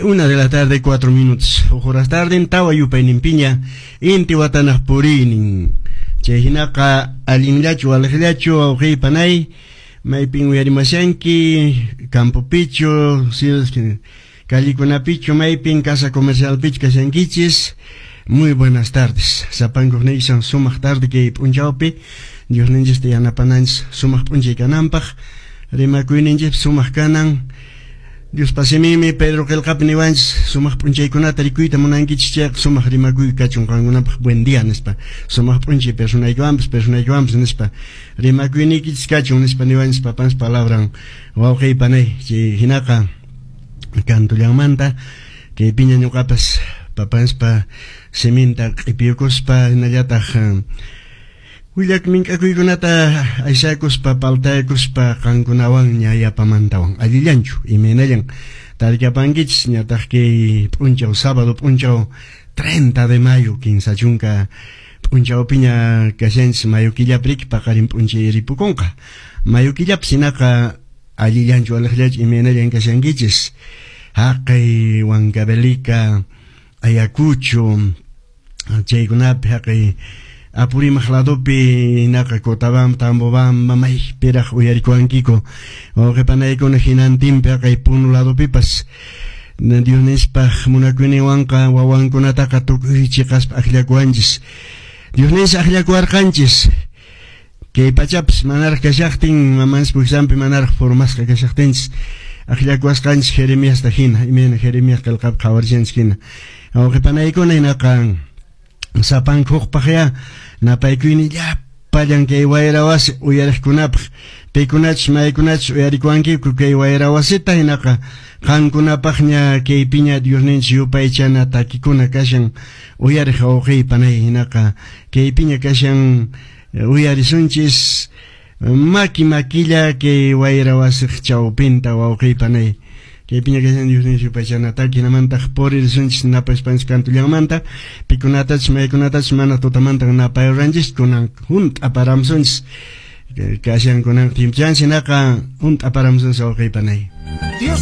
Una de la tarde, 4 minutos. Huk horas tarden, tawa yupayninpiña, inti watanaq puriynin. Chay hinaqa allinllachu, waliqllachu, wawqiy panay, maypin uyarimashanki, campopichu, callekunapichu, maypin casa comercialpichu kashankichis. Muy buenas tardes. Sapankuq niysan sumaq tarde kay p'unchawpi, Diosninchista yanapananchis sumaq p'unchay kananpaq, rimakuyninchis sumaq kanan. Diospa siminmi Pedro qillqapi niwanchis sumaq p'unchaykunata rikuyta munankichis chayqa sumaq rimakuy kachun qankunapaq buen día nispa, sumaq p'unchay personaykiwanpas personaykiwanpas nispa, rimakuyniykichis kachun nispa niwanchis papanchis palabran, wawqiy panay. Chay hinaqa kantullanmanta kaypiña ñuqapas papanspa siminta q'ipiyukuspa hinallataq willak mink'akuykunata aysakuspa paltayakuspa qankunawanña yapamantawan. Allillanchu, imaynallan tarikapankichis ñataq kay p'unchaw, sábado p'unchaw 30 de mayo, 30 p'unchawpiña kashanchis mayo killapi, paqarin p'unchay ripukunqa mayo killapi. Hinaqa allillanchu, aliqllachu, imaynallan kashankichis haqay Huancavelica, Ayacucho chaykunapi, haqay Apurímac ladopi, naqa Cotabamba, Tambobamba, maypiraq uyarikuwankiku wawqi panaykuna hinantinpi, haqay Puno ladopipas? Dios nispaq munakuyninwanqa wawankunataqa tukuy chiqaspa akllakuwanchis. Dios nis akllakuwarqanchis kay pachapas manaraq kashaqtin, mamanchis wiksanpi manaraq formasqa kashaqtinchis akllakuwasqanchis Jeremiasta hina, imayna Jeremías qillqapi qhawarishanchis hina. Wawqi panaykuna, hinaqa sapanka hukpaqya napaykuyni llapallan kay wayra wasi uyariqkunapaq, pikunachus maykunachus uyarikuwankiku kay wayra wasita. Hinaqa qankunapaqña kaypiña Diosninchis yupaychana takikuna kashan, uyariq wawqiy panay. Hinaqa kaypiña kashan, uyarisunchis maki makilla kay wayra wasiq chawpinta, wawqiy panay. Kaypiña kashan Diosninchis yupaychana taki, hinamantaq puririsunchis napaspanchis kantullanmanta pikunatachus maykunatachus mana tutamanta napayuranchis, kunan hunt'a paramsunchis kashan kunan tiempochanchis, hinaqa hunt'a paramsunchis, wawqiy panay. Dios.